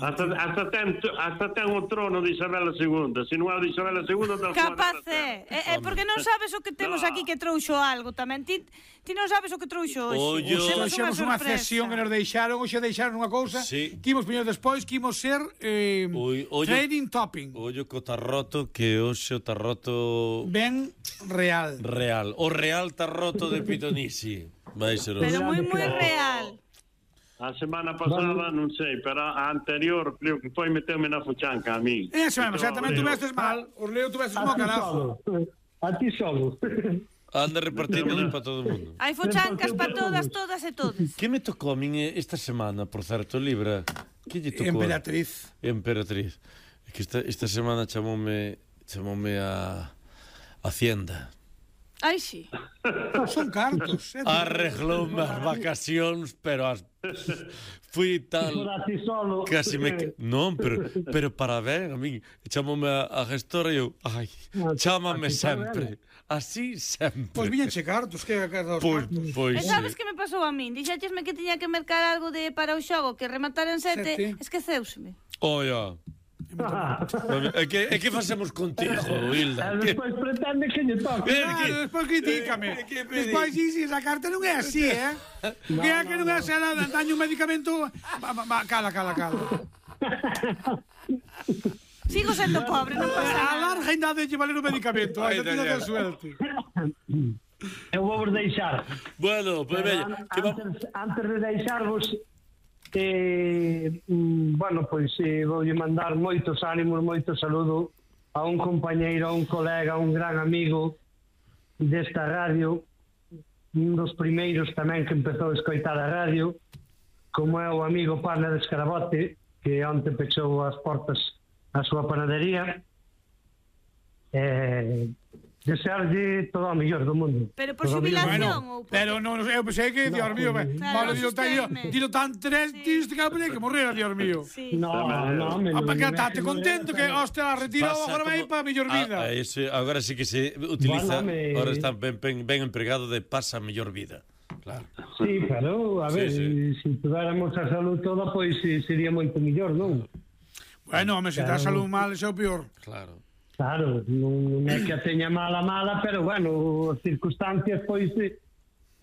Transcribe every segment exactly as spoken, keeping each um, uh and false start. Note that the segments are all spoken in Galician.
Hasta, hasta, ten, hasta ten o trono de Isabela segunda. Se non é o de Isabela segunda, tal capaz é. É, é porque non sabes o que temos no. aquí que trouxo algo tamén. Ti, ti non sabes o que trouxo hoxe. Oye, temos unha cesión que nos deixaron. Hoxe deixaron unha cousa sí. que imos poñer despois, que imos ser eh, Oy, oye, trading topping. Ollo co tarroto, que hoxe o tarroto ben real. Real. O real tarroto de Pitonisi. Vai ser o pero moi, moi real. A semana pasada bueno. non sei, pero a anterior creo que foi meterme na fuchanca a mí. Eso, xa tamén tu vestes mal. Os leo tu vestes mo carajo. A ti solo. Anda repartindo para todo o mundo. Hai fuchancas para todas, todas e todos. Que me tocou a min esta semana, por certo, Libra? Que lle tocou? Emperatriz. Emperatriz. É que esta, esta semana chamoume chamoume a Hacienda. Ai, sí. Son cartos. Eh, Arregloume as vacacións, pero as fui tal casi me non, pero pero para ben, a min chamoume a, a gestora e eu, ai, chámame sempre. Así sempre. Pois viñenche cartos, que cartos. Pois, pois. E sabes que me pasou a min? Dixéchesme que tiña que mercar algo de para o xogo que remataran sete, sete. Esqueceuseme. Oia. É que, é que facemos contigo, Hilda? E despois pretende que lle toque. Claro, despois critícame. Despois dixi, esa carta non é así, eh? Que é que non é así, daño un medicamento. Cala, cala, cala. Sigo sendo pobre, non pasa nada. A larga ainda de valer o medicamento, ainda tiña de suerte. Eu vou vos deixar. Bueno, pues bella. Antes, antes de deixarvos, Eh, bueno, pois eh, voulle mandar moitos ánimos, moito saludo a un compañeiro, a un colega, a un gran amigo desta radio, un dos primeiros tamén que empezou a escoitar a radio, como é o amigo Pana de Escarabote, que onte pechou as portas a súa panadería. Eh, desearlle todo o mellor do mundo. Pero por xubilación bueno, ou por... Pero non, eu pensei que, Dios mío, vale, dilo tan, dilo tan triste que morrera, Dios mío. Sí. No, no, me non. Para que estate contento que, hostia, retirado agora vai para a mellor vida. Ah, ese, agora sí que se utiliza, bueno, me... agora está ben, ben, ben empregado de pasa a mellor vida. Claro. Sí, pero, a ver, sí, sí. se tuviéramos a salud toda, pois pues, sería moito mellor, non? Bueno, home, se claro. Dá salud mal, xa o pior. Claro. Claro, non é que a teña mala mala, pero bueno, as circunstancias pois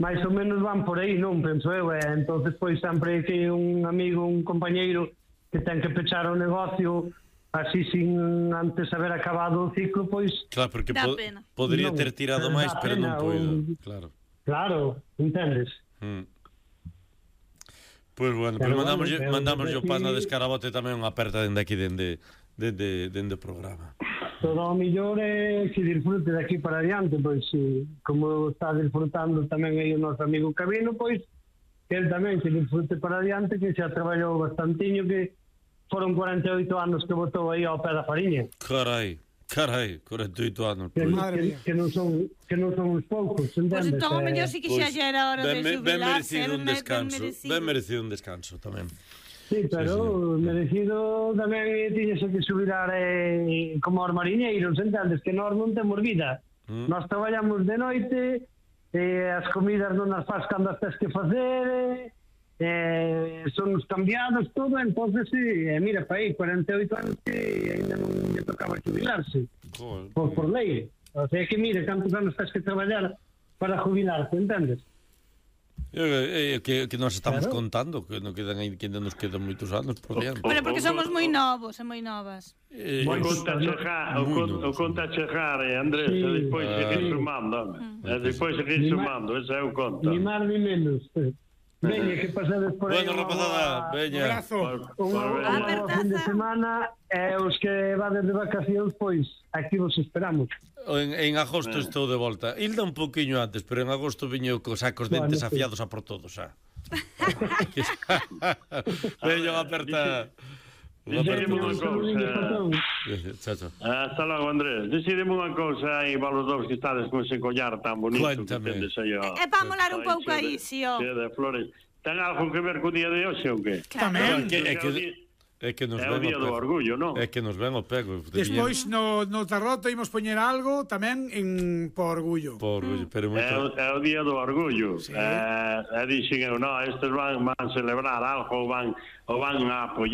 máis ou menos van por aí, non, penso eu, e entonces pois sempre que un amigo, un compañeiro que ten que pechar o negocio así sin antes haber acabado o ciclo, pois claro, porque po podría ter tirado máis, pero non poido, claro. Claro, entendes? Mm. Pois bueno, pero, pero mandamos bueno, mandamos yo Pana de Escarabote tamén unha aperta dende aquí dende dende dende o programa. Todo o mellor é que disfrute de aquí para adiante, pois como está disfrutando tamén aí o noso amigo Cabino, pois que el tamén que disfrute para adiante, que xa traballou bastantiño, que foron cuarenta e oito anos que botou aí ao pé da fariña. Carai, carai, cuarenta e oito anos. Que, que, que non son que non son uns poucos, entendes? Pois entón o mellor si que xa era hora de xubilarse. Ben merecido un descanso, ben merecido un descanso tamén. Sí, pero sí, sí. Merecido tamén tiñese que xubilar eh, como os mariñeiros, entendes? Que nós non temos vida. Mm. Nós traballamos de noite, eh, as comidas non as faz cando as tens que fazer, eh, son os cambiados, todo, entonces sí, eh, mira, pa aí, cuarenta e oito anos que ainda non lle tocaba xubilarse, oh, por, por lei. O sea que mira, cantos anos tens que traballar para jubilarte, entendes? É que, que nos estamos claro. contando que non quedan aí, que nos quedan moitos anos por diante. Pero porque somos moi novos e moi novas. Eh, o conta chegar, o conta chegar, eh, Andrés, sí. E despois ah. seguir sumando, mm. e despois seguir ni sumando, ese é o conta. Ni máis ni menos. Veña, que pasades por aí. Bueno, rapazada, veña. Un abrazo. Un fin de semana, e os que vades de vacacións, pois, aquí vos esperamos. En, en agosto estou de volta. Hilda un poquinho antes, pero en agosto viño cos sacos dentes bueno, afiados a por todos, xa. Veño a aperta... Decidimos unha cousa. Hasta logo, Andrés. Decidimos unha cousa aí para os dous que estades con ese collar tan bonito. Cuéntame. É para molar un pouco aí, si, ó. De flores. Ten algo que ver co día de hoxe ou que? Tamén. É que... É que nos é o día do orgullo, non? É que nos ven o pego. Despois no, no tarroto imos poñer algo tamén en por orgullo. Por orgullo, pero moito... É o, é o día do orgullo. Sí. Eh, e dixen eu, non, estes van, van celebrar algo ou van, ou van a apoiar